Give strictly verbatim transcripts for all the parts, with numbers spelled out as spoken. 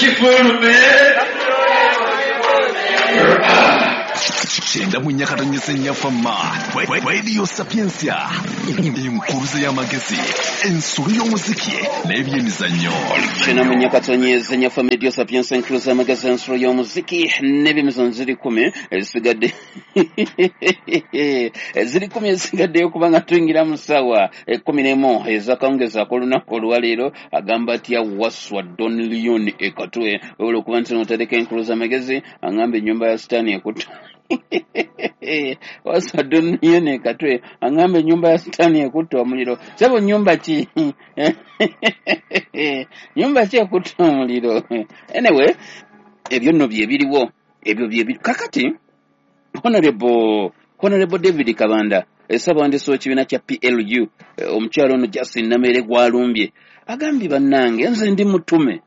Kifulume. Kyenda mu nnya katonyeze nnya Fama Radio Sapientia, enkuruze y'amagezi, ensolo y'omuziki n'ebyemizannyo. Kyenda mu nnya katonyeze nnya Fama Radio Sapientia, enkuruze y'amagezi, ensolo y'omuziki n'ebyemizannyo. Ziri kumi ezisigadde, ziri kumi ezisigaddeyo kubanga tuyingira mu ssaawa ekkumi n'emu ez'akawungeezi ak'olunaku olwaleero. Agamba atya Waswa Don Leon Ekatwe? Webula okuba nti notereka enkuluza amagezi, agamba ennyumba ya Sitaani ekutta. Waswa Don Leon Ekatwe agamba ennyumba ya Sitaani ekutta omuliro. Sebo, nyumba ki, nyumba ki ekutta omuliro? Anyway, ebyo nno bye biriwo, ebyo bye biri kakati. honorable honorable David Kabanda, ssabawandiisi w'ekibiina kya P L U, omukyalo ono Justin Namere gwalumbye. Agambye, "Bannange, nze ndi mutume.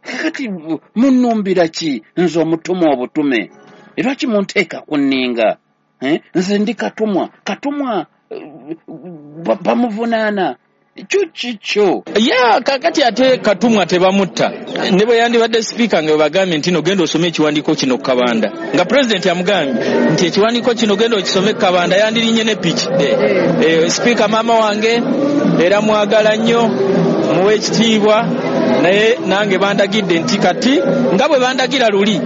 Kakati munnumbira ki nze omutume obutume? Lwaki munteeka ku nninga? Nze ndi katumwa, katumwa bamuvunaana kyo kikyo." Ya kakati ate Katumwa tebamutta. Ne bwe yandibadde sipiika, nga bwebagambye nti no genda osome ekiwandiiko kino Kabanda, nga pulezidenti amugambye nti ekiwandiiko kino genda okisome Kabanda, yandirinye ne piki. E, sipiika maama wange era mwagala nnyo, muwe ekitiibwa, naye nange bandagidde nti kati nga bwe bandagira luli,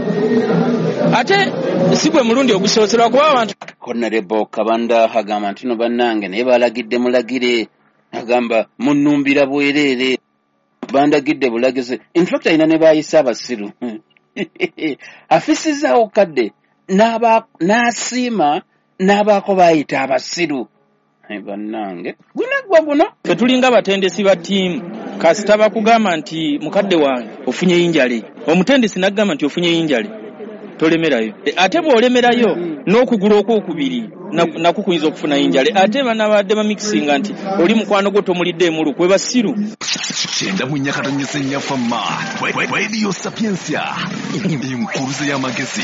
ate si gwe mulundi ogusoose, lwakuba abantu Honorable Kabanda agamba nti no bannange, naye balagidde mulagire. Agamba munnumbira bwereere, bandagidde bulagizi. In fact, alina ne bayise abasiru. Afisizaawo kadde n'asiima n'abaako bayita abasiru. Bannange, gunaggwa guno. Ffe tulinga batendesi ba ttiimu. Kasita bakugamba nti mukadde wange ofunye injury, omutendesi n'agamba nti ofunye injury, tolemerayo. Ate bw'olemerayo n'okugulu okwokubiri nakwo kuyinza okufuna injury. Ate banabadde bamikisinga nti oli mukwano gwo tomulidde emuluku, basiru. Kyenda mu nnya katonyeze nnya Fama Radio Sapientia, enkuruze y'amagezi,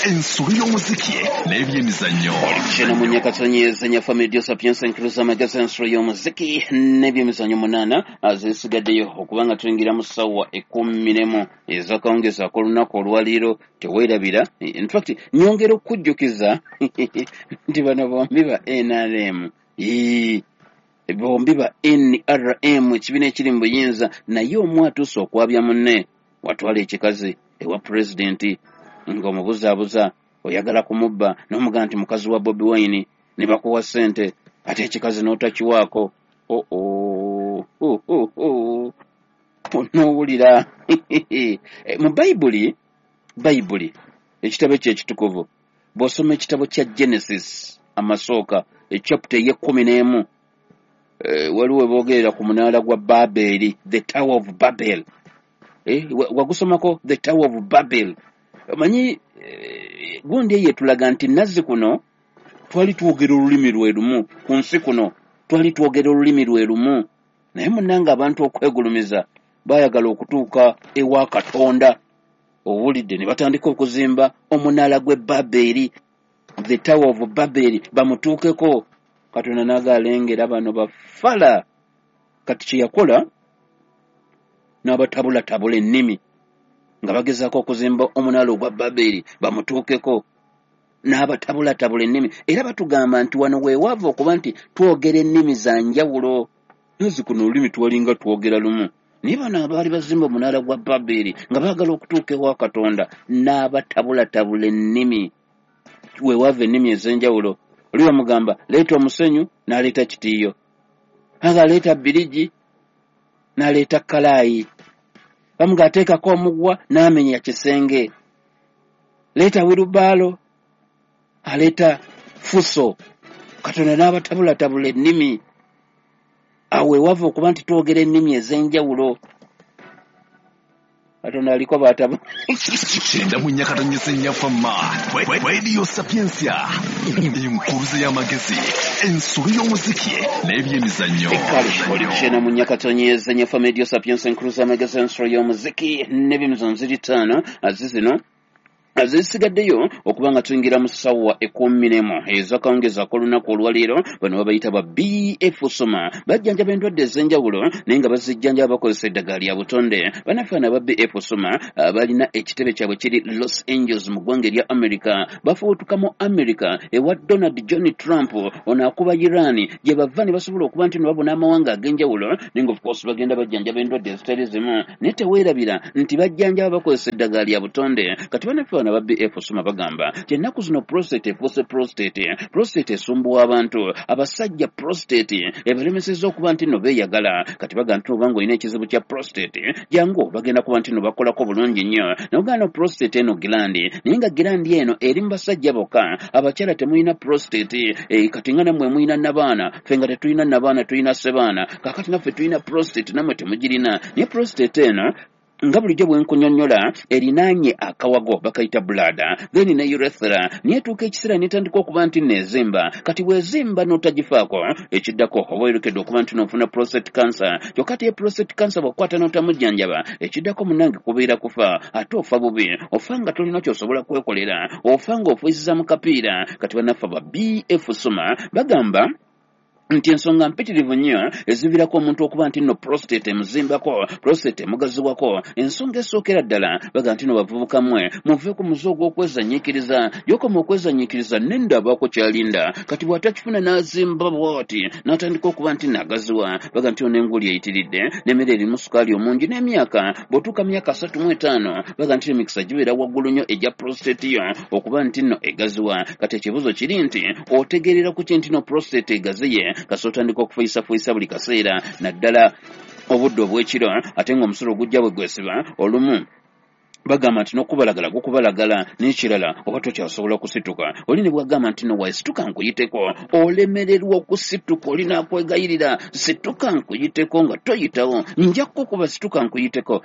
ensolo y'omuziki n'ebyemizannyo. Kyenda mu nnya katonyeze nnya Fama Radio Sapientia, enkuruze y'amagezi, ensolo y'omuziki n'ebyemizannyo. Munaana zisigaddeyo okubanga tuyingira mu ssaawa ekkumi n'emu ez'akawungeezi ak'olunaku olwaleero. Teweerabira, in fact nyongera okukujjukiza nti bano bombi ba N R M, bombi ba N R M, ekibiina ekiri mu buyinza, naye omu atuuse okwabya munne. Watwala ekikazi ewa pulezidenti ng'omubuzaabuza oyagala kumubba, n'omugamba nti mukazi wa Bobi Wine, ne bakuwa ssente, ate ekikazi n'otakiwaako. Oo, n'owulira mu Bayibuli, Bayibuli ekitabo ekyo ekitukuvu, bw'osoma ekitabo kya Genesis amasooka, echapter ey'ekkumi n'emu, waliwo weboogerera ku munaala gwa Baberi, the Tower of Babel. Wagusomako the Tower of Babel? Omanyi gundi eyo etulaga nti nazzi kuno twali twogera olulimi lwe lumu, ku nsi kuno twali twogera olulimi lwe lumu, naye munnange abantu okwegulumiza baayagala okutuuka ewa Katonda, owulidde, ne batandika okuzimba omunaala gw'e Baberi, the Tower of Babel, bamutuukeko. Katonda n'agaalengera bano bafala. Kati kye yakola n'abatabulatabula ennimi nga bagezaako okuzimba omunaala ogwa Baberi bamutuukeko, n'abatabulatabula ennimi. Era batugamba nti wano weewaava okuba nti twogera ennimi za njawulo. Nazi kuno olulimi twalinga twogera lumu, naye bano abaali bazimba omunaala gwa Baberi nga baagala okutuuka ewa Katonda, n'abatabulatabula ennimi. Weewaava ennimi ez'enjawulo. Oli bamugamba leeta omusenyu, n'aleeta kitiiyo, aga leeta birigi, n'aleeta kalaayi, bamuga ateekako omugwa, n'amenya kisenge, leeta wheelbarrow, aleeta fuso. Katonda n'abatabulatabula ennimi. Awo weewava okuba nti twogera ennimi ez'enjawulo. Katonda aliko batabu. Kyenda mu nnya katonyeze nnya Fama Radio Sapientia, enkuruze y'amagezi, ensolo y'omuziki n'ebyemizannyo. Kale oli kyenda mu nnya katonyeze nnya Fama Radio Sapientia, enkuruze y'amagezi, ensolo y'omuziki n'ebyemizannyo. Ziri ttaano azizino. Azisigaddeyo okuba nga tuyingira mu ssaawa ekkumi n'emu ez'akawungeezi ak'olunaku olwaleero. Bano babayita ba B F Soma, bajjanjaba endwadde ez'enjawulo naye nga bazijjanjaba bakozesa eddagala lya butonde. Bannaffe bano aba B F Soma balina ekitebe kyabwe kiri Los Angeles mu ggwanga erya America. Bafubutuka mu America ewa Donald John Trump, ono akuba Iran, gye bava ne basobola okuba nti babona amawanga ag'enjawulo, naye nga of course bagenda bajjanjaba endwadde ezitali zimu, naye teweerabira nti bajjanjaba bakozesa eddagala lya butonde. Kati bannaffe bano aba B F Soma bagamba nti ennaku zino prostate efuuse prostate, prostate esumbuwa abantu, abasajja prostate ebalemesezza okuba nti nno beeyagala. Kati bagamba nti obanga olina ekizibu kya prostate, jangu bagenda kuba nti nno bakolako bulungi nnyo. Nogamba prostate eno gland, naye nga gland eno eri mu basajja bokka, abakyala temulina prostate. E, kati nga nammwe mulina nabaana, ffe nga tetulina nabaana, tulina ssebaana, kaakati naffe tulina prostate nammwe temugirina. Naye prostate eno nga bulijjo bwe nkunyonnyola erinaanye akawago bakayita bladder, then ne urethra, naye etuuka ekiseera n'etandika okuba nti neezimba. Kati bw'ezimba n'otagifaako, ekiddako oba oyolekedde okuba nti n'ofuna prostate cancer. Kyokka ate prostate cancer bw'okukwata n'otamujjanjaba, ekiddako munnange kubeera kufa, ate ofa bubi, ofa nga tolina ky'osobola kwekolera, ofa ng'ofuisiza mu kapiira. Kati bannaffe ba B F Soma bagamba nti ensonga mpitirivu nnyo eziviirako omuntu okuba nti nno prostate emuzimbako, prostate emugaziwako. Ensonga esookera ddala bagamba nti nno bavubuka mmwe muve ku muze ogw'okwezanyiikiriza. Gy'okoma okwezanyiikiriza nendabako kyalinda, kati bw'atakifuna n'azimba bw'ati n'atandika okuba nti nagaziwa. Bagamba nti ono enguli eyitiridde n'emmere erimu sukaali omungi n'emyaka, bw'otuuka myaka asatu mu etaano bagamba nti emikisa gibeera waggulu nnyo egya prostate yo okuba nti nno egaziwa. Kati ekibuuzo kiri nti otegeerera ku ki nti nno prostate egaziye? Kasita otandika okufuyisafuuyisa buli kaseera, naddala obudde obw'ekiro, ate ng'omusulo gujja bwe gwesiba olumu bagamba nti n'okubalagala gukubalagala, n'ekirala oba tokyasobola kusituka. Oli ne bw'agamba nti no waisituka nkuyiteko, olemererwa okusituka, oli n'akwegayirira situka nkuyiteko nga toyitawo, nja kukuba situka nkuyiteko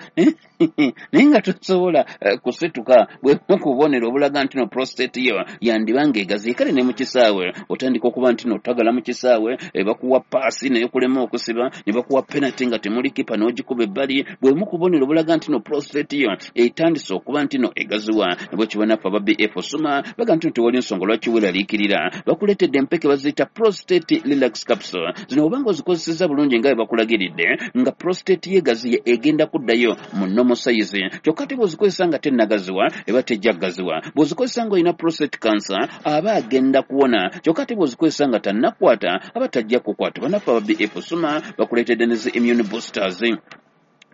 naye nga tosobola kusituka. Bwe kubonero obulaga nti no prostate yo yandiba ng'egaziye. Kale ne mu kisaawe otandika okuba nti n'otagala mu kisaawe, bakuwa paasi naye kulema okusiba, ne bakuwa penalty nga temuli kipa n'ogikuba ebbali. Bwe mu kubonero obulaga nti no prostate yo etandise okuba nti no egaziwa. Bwe kiba naffe aba B F Soma bagamba nti tewali nsonga lwaki weeraliikirira, bakuleetedde empeke baziyita prostate relax capsule. Zino obanga ozikozesezza bulungi nga bwe bakulagiridde, nga prostate yeegaziye egenda kuddayo mu normal size. Kyokka ate bw'ozikozesa nga tennagaziwa eba tejja kugaziwa. Bw'ozikozesa ng'olina prostate cancer aba agenda kuwona. Kyokka ate bw'ozikozesa nga tannakwata aba tajja kukwata. Bannaffe aba B F Soma bakuleetedde ne zi immune boosters.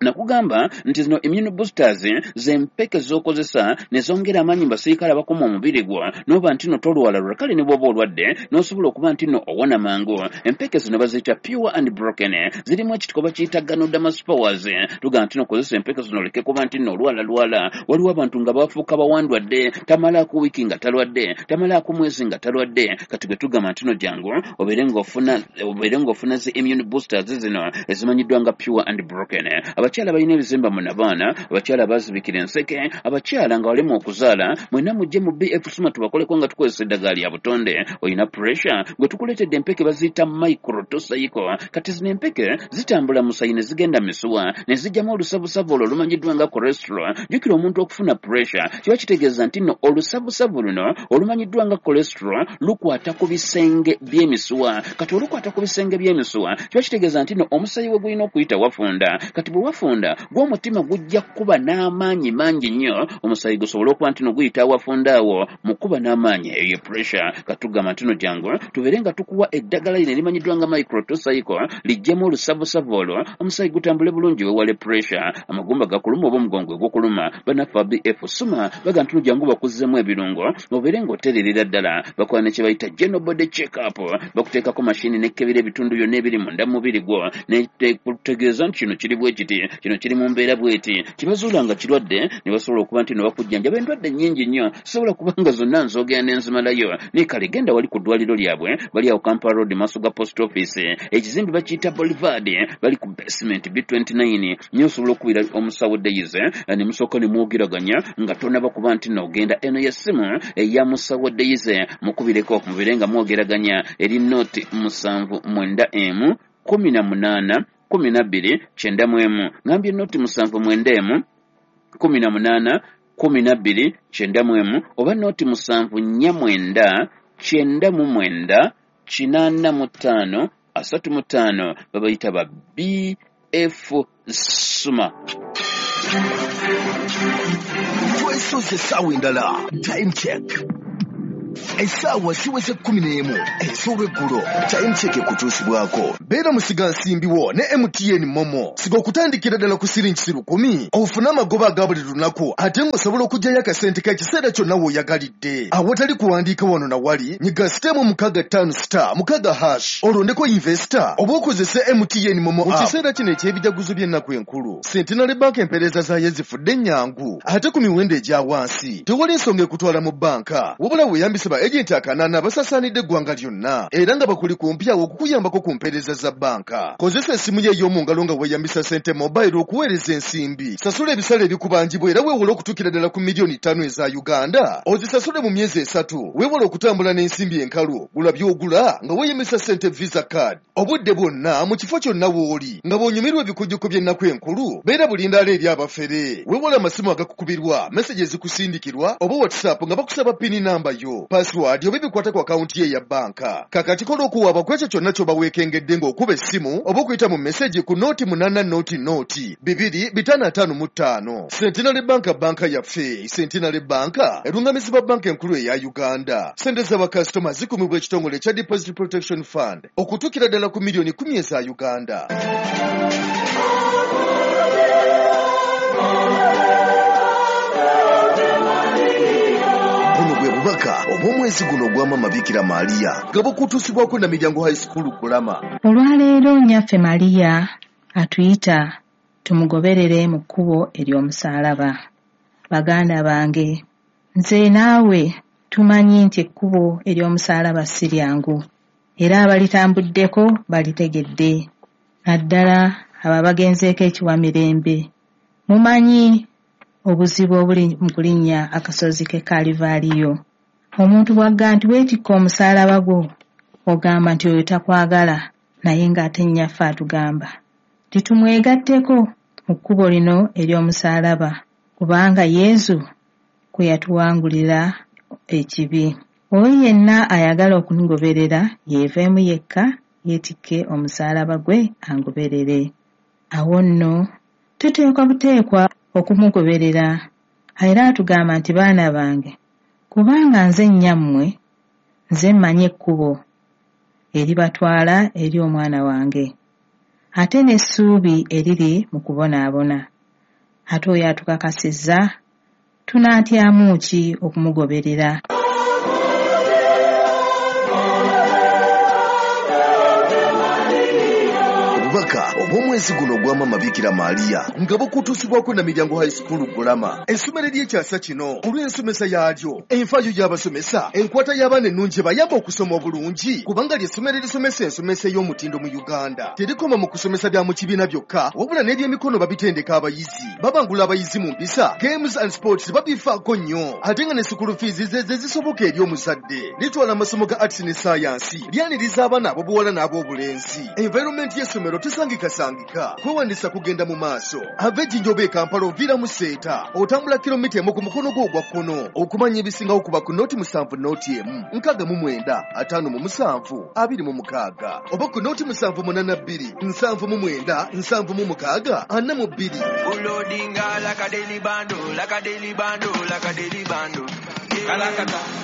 Nakugamba nti zino immune boosters z'empeke z'okozesa ne zongera amaanyi mu basirikale abakuma omubiri gwo, n'oba nti nno tolwalalwala, kale ne bw'oba olwadde n'osobola okuba nti nno owona mangu. Empeke zino baziyita pure and broken, zirimu ekitiko bakiyita ganoderma spores. Tugamba nti nno kozesa empeke zino oleke kuba nti nno olwalalwala. Waliwo abantu nga bafuuka bawandwadde, tamalaako wiiki nga talwadde, tamalaako mwezi nga talwadde. Kati gwe tugamba nti nno jangu obeere ng'ofuna obeere ng'ofuna zi immune boosters zino ezimanyiddwa nga pure and broken. Abakyala balina ebizimba mu nabaana, abakyala baazibikira enseke, abakyala nga balema okuzaala, mwenna mujje mu B F Soma tubakoleko nga tukozesa eddagala lya butonde. Olina pressure, gwe tukuleetedde empeke baziyita microtocycle. Kati zino empeke zitambula musayi ne zigenda misuwa ne zijjamu olusavusavu olwo olumanyiddwa nga cholesterol. Jjukira omuntu okufuna pressure kiba kitegeeza nti nno olusavusavu luno olumanyiddwa nga cholesterol lukwata ku bisenge by'emisuwa. Kati olukwata ku bisenge by'emisuwa kiba kitegeeza nti nno omusayi we gulina okuyita wafunda. Kati bwe wafunda gw'omutima gujja kuba n'amaanyi mangi nnyo, omusayi gusobole okuba nti nno guyita awafunda awo mu kuba n'amaanyi, eyo pressure. Katugamba nti nno jangu tubeere nga tukuwa eddagala lino erimanyiddwa nga microtocycle, lijjemu olusavusavu olwo, omusayi gutambule bulungi weewale pressure. Amagumba gakuluma oba omugongo gukuluma, bannaffe aba B F Soma bagamba nti nno jangu bakuzzemu ebirungo obeere ng'otererera ddala. Bakola ne kye bayita general body check up, bakuteekako mashini n'ekebera ebitundu byonna ebiri munda mu mubiri gwo n'ekutegeeza nti kino kiri bwe kiti, kino kiri mu mbeera bw'eti. Kibazuula nga kirwadde ne basobola okuba nti no bakujjanjaba endwadde nnyingi nnyo, sobola kubanga zonna nzogera ne nzimalayo. Naye kale genda wali ku ddwaliro lyabwe, bali awo Kampala Road maaso ga post office, ekizimbe bakiyita Boulevard, bali ku basement B twenty-nine. Nnyo osobola okubira omusawo Daisy ne musooka ne mwogeraganya nga tonnaba kuba nti nno ogenda. Eno y'essimu eya musawo Daisy, mukubireko mubeere nga mwogeraganya eri noti musanvu mwenda emu kumi na munaana kumi na bbiri kyenda mu emu. Ngambye noti musanvu mwenda emu kumi na munaana kumi na bbiri kyenda mu emu oba nooti musanvu nnya mwenda kyenda mu mwenda kinaana mu ttaano asatu mu ttaano. Babayita ba B F Suma. Twesoze essaawa endala, time check. Essaawa ziweze kkumi n'emu ez'olweggulo. Time check ekutuusibwako beera musigansimbi wo ne M T N Momo. Siga okutandikira ddala ku siringi lukumi ofune amagoba aga buli lunaku, ate ng'osobola okuggyayo akasente k'ekiseera kyonna w'oyagalidde awatali kuwandiika wano na wali. Nyiga sitemu mukaaga ttaano star mukaaga hash olondeko investor oba okozese M T N Momo. Mu kiseera kino eky'ebijaguzo by'ennaku enkulu, Centenary Bank empeereza zaayo zifudde ennyangu ate ku miwendo egya wansi. Tewali nsonga ekutwala mu bbanka, wabula weeyambise ba agenti akanaana abasasaanidde eggwanga lyonna era nga bakuli kumpi awo okukuyambako ku mpeereza za bbanka. Kozesa essimu ye ey'omu ngalo nga weeyambisa Sente Mobile okuweereza ensimbi. Sasula ebisale ebikubanjibwa era weewole okutuukira ddala ku miliyoni ttaano eza Uganda, ozisasule mu myezi esatu. Weewole okutambula n'ensimbi enkalu, gula by'ogula nga weeyambisa Sente Visa card obudde bwonna mu kifo kyonna w'oli nga bw'onyumirwa ebikujjuko by'ennaku enkulu. Beera bulindaala eri abafere. Weewole amasimu agakukubirwa, meseji ezikusindikirwa oba WhatsApp nga bakusaba pini namba yo, password oba ebikwata ku akawunti ye ya bbanka. Kakati kola okuwaaba ku ekyo kyonna ky'oba weekengedde ng'okuba essimu oba okuyita mu meseji ku nooti munaana nooti nooti bibiri bitaano ataano mu ttaano. Centenary Bank, banka yaffe. Centenary Bank erungamizibwa banka enkulu eya Uganda. Ssente z'abakasitoma zikumibwa ekitongole ekya Deposit Protection Fund okutuukira ddala ku miliyoni kumi eza Uganda. Buno bwe bubaka obw'omwezi guno ogwa Maama Bikira Maria nga bukutuusibwako na Miryango High School Kulama. Olwaleero nnyaffe Maria atuyita tumugoberere mu kkubo ery'omusaalaba. Baganda bange, nze naawe tumanyi nti ekkubo ery'omusaalaba si lyangu, era abalitambuddeko balitegedde, naddala abo abagenzeeko ekiwamirembe. Mumanyi obuzibu obuli mu kulinnya akasozi k'e Kalivaaliyo. Omuntu bw'agamba nti weetikka omusaalaba gwo, ogamba nti oyo takwagala, naye ng'ate nnyaffe atugamba titumwegatteko mu kkubo lino ery'omusaalaba, kubanga Yesu kwe yatuwangulira ekibi. Oyo yenna ayagala okungoberera yeeveemu yekka, yeetikke omusaalaba gwe angoberere. Awo nno tuteekwa buteekwa okumugoberera. Era atugamba nti baana bange, kubanga nze nnyammwe, nze mmanyi ekkubo eribatwala eri omwana wange, ate n'essuubi eriri mu kubonaabona. Ate oyo atukakasizza, tunaatyamu ki okumugoberera? Obubaka obw'omwezi guno ogwa Maama Bikira Maria nga bukutuusibwako na Miryango High School Kulama, essomero ery'ekyasa kino olw'ensomesa yaalyo, enfaayo y'abasomesa, enkwata y'abaana ennungi bayamba okusoma obulungi, kubanga ly'essomero erisomesa ensomesa ey'omutindo mu Uganda. Terikoma mu kusomesa bya mu kibiina byokka, wabula n'ebyemikono babitendeka abayizi, babangula abayizi mu mpisa, games and sports babifaako nnyo, ate nga ne school fees ze ze zisoboka eri omuzadde. Litwala amasomo ga arts ne science, lyaniriza abaana ab'obuwala n'ab'obulenzi. Environment y'essomero tesangikasangika, kwewandisa kugenda mu maaso. Ava Ejjinja oba e Kampala oviira mu Seeta, otambula kilomita emu ku mukono gwo ogwa kkono. Okumanya ebisingawo kuba ku nooti musanvu nooti emu nkaaga mu mwenda ataano mu musanvu abiri mu mukaaga oba ku nooti musanvu munaana bbiri nsanvu mu mwenda nsanvu mu mukaaga ana mu bbiri. Ulodinga like a daily bando, like a daily bando, like a daily bando. Kalakata.